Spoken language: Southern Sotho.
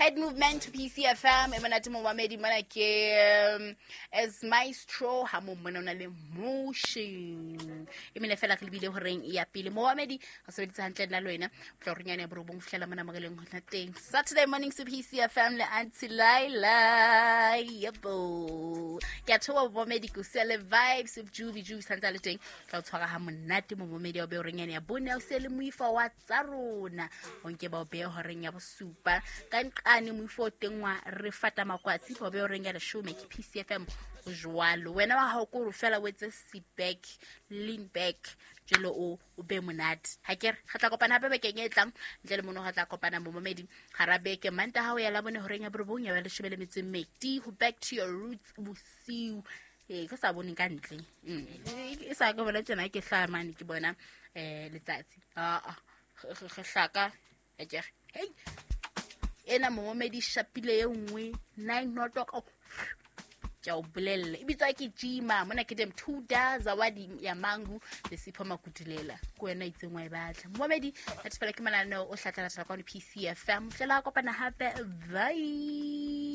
Head movement to PCFM e monate momamedi mona ke as maestro ha mo mmona o na le motion e mene fela re lebile horeng ya pele momamedi re sebeditse hantle nna le wena o tla horeng yane ya borobong ho fihlela mona mo re leng hona teng. Saturday morning to PCFM le Auntie Laila. Yebo, ke a theoha momamedi, ke o siya le vibes of Jubi. Jubi santse a le teng, tla o tshwara ha monate momamedi wa be horeng yane ya bone, o siya le moifa wa tsa rona o nke ba o beye horeng ya bosupa ka nqane moifo o teng wa re fata makwatsi ba o beye horeng ya leshome. Ke PCFM jwalo. Wena wa hao ko fela o etse sit back, lean back jalo o be monate. Ha ke re re tla kopana hape bekeng e tlang. Ntle le mono re tla kopana momamedi gara beke manta ha o ya la bone horeng ya borobong ya ba leshome le metso e mmedi ho back to your roots bosiu. Ee, ke sa boneng ka ntle. E sa ke bona tjena ke hlaha mane ke bona letsatsi aa re hlaka akere. Hei, ena momamedi shapile e nngwe nine o'clock. Oh, ke a o bolella, e bitswa ke jima mona ke dem thuda zawadi ya mangu le Sipho Makutulela ke wena itseng wa e batla momamedi. That fela ke mananeo o hlatlalatela kwano PCFM. Tlela kopana hape, bye.